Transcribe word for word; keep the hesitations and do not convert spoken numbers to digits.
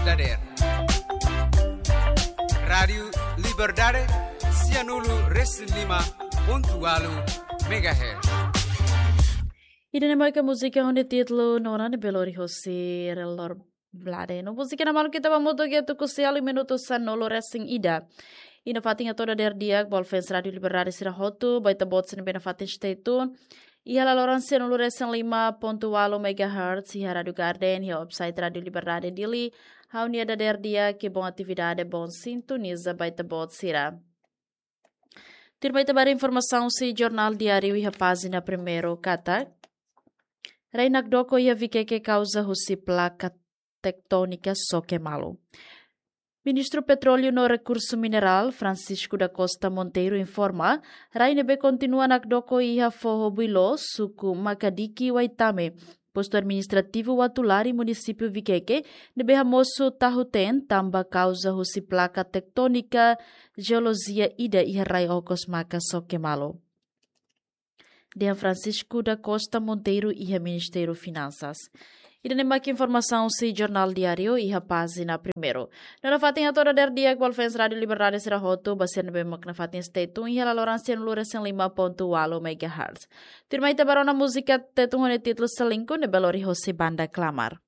dadeer. Rádiu Liberdade, sianulu resin lima pontu walu megahertz. Ida-ne'e mak múzika ho nia títulu Nona ne'ebé lori hosi Relor Blade. No múzika ne'e maluk ita ba mutu ke tuku sialu minutu sanulu resin ida. Iha fatin atu dadeer di'ak ba fans Rádiu Liberdade sira hotu, ba ita-boot sira ne'ebé nafatin stay tune iha laloran sianulu resin lima pontu walu megahertz, iha Rádiu Garden, iha website Rádiu Liberdade Dili. Ha'u-nia dadeer di'ak, ke bom atividade, bom sintoniza ba ita-boot sira. Tuirmai ita ba haree informasaun husi Jornál Diáriu iha pájina primeiru katak: rai nakdoko iha Viqueque kauza husi plaka tektónika soke malu. Ministru Petróleu no Rekursu Minerál, Francisco da Costa Monteiro, informa, rai ne'ebé kontinua nakdoko iha foho Builo, suku Makadiki, Waitame, postu administrativu Uatulari, munisípiu Viqueque, ne'ebé hamosu tahu-teen tanba kauza husi plaka tektónika jeolojia ida iha rai okos maka soke malu. Dehan Francisco da Costa Monteiro iha Ministériu Finansas. Ida-ne'e mak informasaun husi Jornál Diáriu iha pájina primeiru. No nafatin atu dadeer di'ak ba fans Rádiu Liberdade sira hotu, ba sira ne'ebé mak nafatin stay tune iha laloran sianulu resin lima pontu walu megahertz. Tuirmai ita ba rona múzika Tetun ho nia títulu Selingkuh ne'ebé lori hosi Banda Klamar.